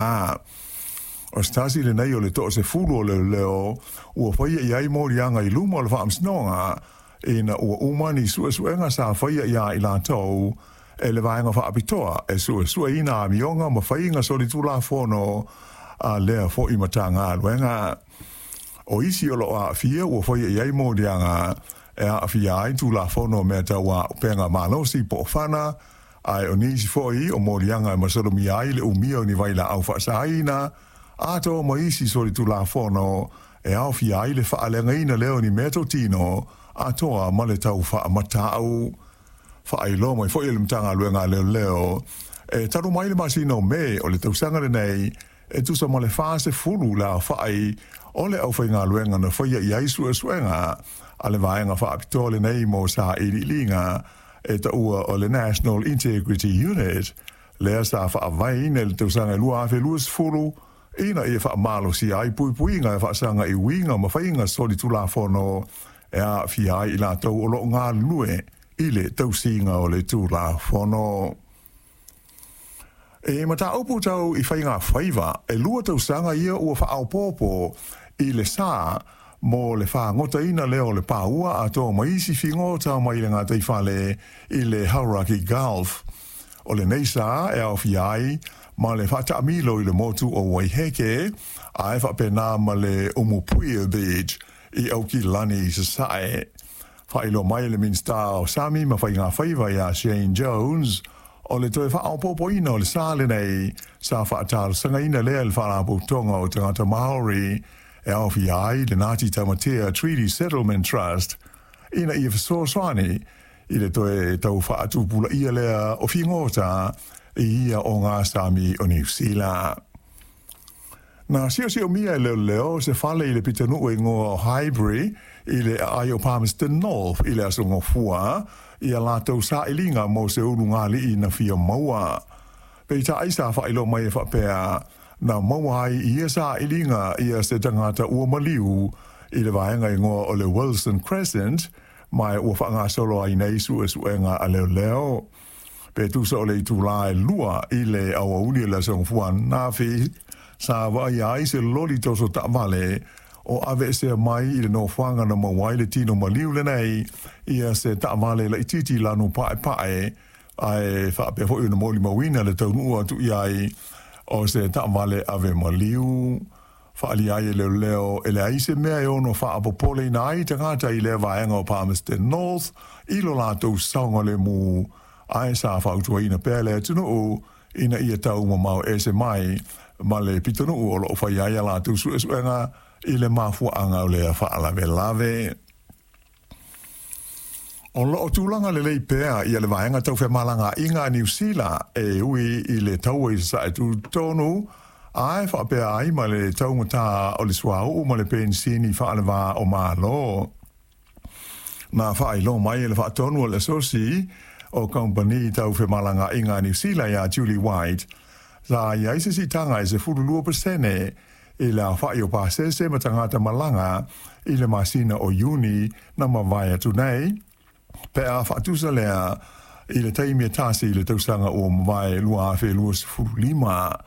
O se tasi lenei o le 10 o leoleo ua faia i ai moliaga i luma o le faamasinoga ina ua uma ni suesuega sa faia iā i latou e le Vaega Faapitoa e Suesueina Amioga ma Faiga Solitulafono a lea foi Matagaluega. O isi o loo aafia ua faia i ai moliaga e aafia ai Tulafono o Mea Tau Auupega Malosi po o FANA, ae o nisi foi o moliaga e masalomia ai le umia o ni vailaau faasaina, atoa ma isi solitulafono e aofia ai le faaleagaina lea o ni meatotino atoa ma le tau faamatau. Faailoa mai foi e le Matagaluega a Leoleo, e talu mai le masina o Me o le tausaga lenei, e tusa ma le 40 le aofai o le aufaigaluega na faia i ai suesuega a le vaega faapitoa lenei mo sailiiliga e taua o le National Integrity Unit, lea sa faavaeina i le tausaga 2020 ina ia faamalosia ai puipuiga e faasaga i uiga ma faiga solitulafono e aafia ai i latou o loo galulue i le tausiga o le Tulafono. E mataupu tau i faiga faiva, e 2 tausaga ia ua faaopoopo i le sā mo le fagotaina lea o le paua atoa ma isi figota mai le gataifale i le Hauraki Gulf. O lenei sa e aofia ai ma le faataamilo i le motu o Waiheke, ae faapena ma le Umupuia Beach i Aukilani i Sasae. Faailoa mai e le Minisita o Sami ma Faiga Faiva ia Shane Jones, o le toe faaopoopoina o le sa lenei sa faatalosagaina lea e le Faalapotopotoga o Tagata Maori e aofia ai le Ngāti Tamatea Treaty Settlement Trust ina ia fesoasoani i le toe tau faatupulaia lea o figota i ia ogasami o Niu Sila. Na siosiomia e leoleo se fale i le pitonuu e igoa o Highbury i le aai o Palmerston North i le aso Gafua i a latou sailiga mo se ulugalii na fia maua. Peitai sa faailoa mai e faapea na maua ai i ia sailiga ia se tagata ua maliu i le vaega igoa o le Wilson Crescent, ma ua faagasolo ai nei suesuega a leoleo. Pe tusa o le itulā e 2 i le aoauli o le aso Gafua ananafi sa vaaia ai se loli toso taavale o aveesea mai i le nofoaga na maua ai le tino maliu lenei ia se taavale laitiiti lanu paepae, ae faapea foi ona molimauina le taunuu atu i ai o se taavale ave maliu. Faaalia ai e leoleo e leai se mea e ono faapopoleina ai tagata i lea vaega o Palmerston North i lo latou saogalemu, ae sa fautuaina pea le atunuu ina ia taumamao ese mai ma le pitonuu o loo faia ai a latou suesuega i le mafuaaga o lea faalavelave. O loo tulaga lelei pea ia le vaega tau femalagaaiga a Niu Sila e ui i le taua i Sasae tutotonu, ae faapea ai ma le taugatā o le suauu ma le penisini faalevā o Malo. Na faailoa mai e le faatonu o le Asosi o Kamupani Tau Femalagaaiga a Niu Sila iā Julie White, sa i ai se siitaga e 12% i le aofai o pasese ma tagata malaga i le masina o Iuni na mavae atu nei, pe a faatusa lea i le taimi e tasi i le tausaga ua mavae 2025.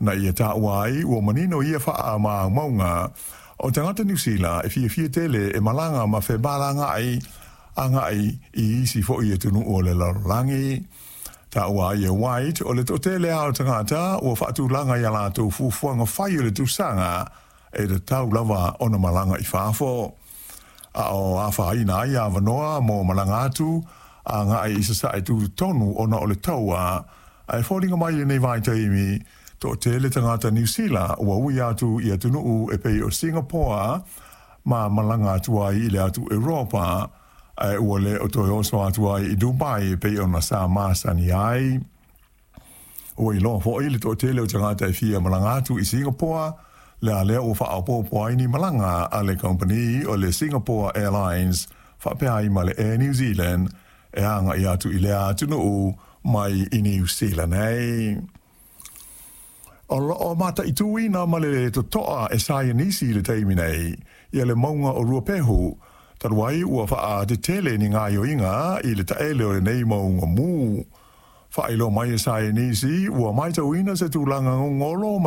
Na ia taua ai ua manino ia faamaumauga o tagata Niu Sila e fiafia tele e malaga ma femalagaai agai i isi foi atunuu o le lalolagi. Taua ai e White o le toatele lava o tagata ua faatulaga i a latou fuafuaga fai o le tausaga e tatau lava ona malaga i fafo, a o afaina ai avanoa mo malaga atu agai i Sasae tutotonu ona o le taua, ae foliga mai i lenei vaitaimi toatele tagata Niu Sila ua ui atu i atunuu e pei o Singapore ma malaga atu ai i le atu Europa, ae ua le o toe oso atu ai i Dubai e pei ona sa masani ai. Ua iloa foi le toatele o tagata e fia malaga atu i Singapore, lea lea ua faaopoopo ai ni malaga a le kamupani o le Singapore Airlines faapea ai ma le Air New Zealand e agai atu i lea atunuu mai i Niu Sila nei. O loo mataituina ma le totoa e saienisi i le taimi nei ia le mauga o Ruapehu, talu ai ua faatetele ni gaoioiga i le taele o lenei mauga mu. Faailoa mai e saienisi ua matauina se tulaga gogolo.